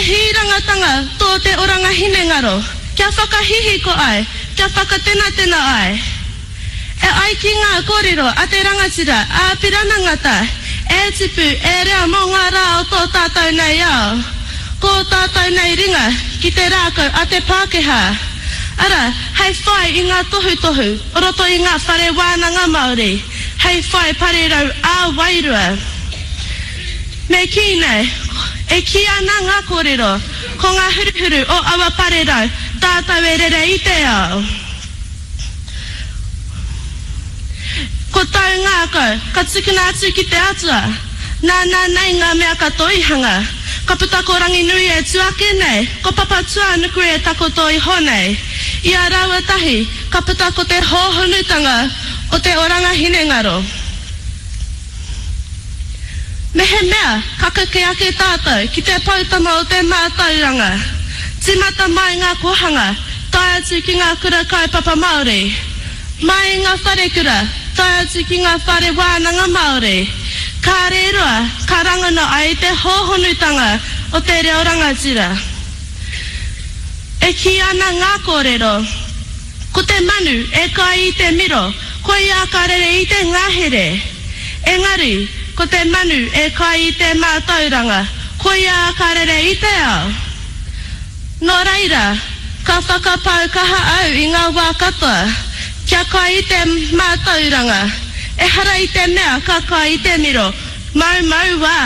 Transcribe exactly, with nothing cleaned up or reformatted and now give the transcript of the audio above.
hīrangatanga tō te oranga hinengaro, kia whakahihiko ai, kia whakatenatena ai. E ai ki ngā kōrero a te rangatira a Apirana Ngata, E tipu, e rea mō ngā rā o tō tātou nei ao. Ko ō tātou nei ringa ki te rākau a te Pākehā. Arā, hei whai i ngā tohutohu o roto i ngā whare wānanga Māori, hei whai parirau ā-wairua. Me kī nei, e kī ana ngā kōrero, ko ngā huruhuru o aua parirau tātou e rere i te ao. Ko tāu ngākau, ka tukuna atu ki te Atua. Nāna nei ngā mea katoa i hanga. Ka puta ko Ranginui e tū ake nei, ko Papatūānuku e takoto iho nei. I a rāua tahi, ka puta ko te hōhonutanga o te oranga hinengaro. Mehemea ka kake ake tātou ki te poutama o te mātauranga, tīmata mai ngā kōhanga, tae atu ki ngā kura kaupapa Māori, mai i ngā wharekura, tae atu ki ngā whare wānanga Māori, kāre roa ka rangona ai te hōhonutanga o te reo rangatira. E kī ana ngā kōrero, Ko te manu e kai i te miro, koia ka rere i te ngahere. Engari, ko te manu e kai i te mātauranga, koia ka rere i te ao. Nō reira, ka whakapau kaha au i ngā wā katoa, kia kai i te mātauranga, ehara i te mea ka kai i te miro, maumau wā.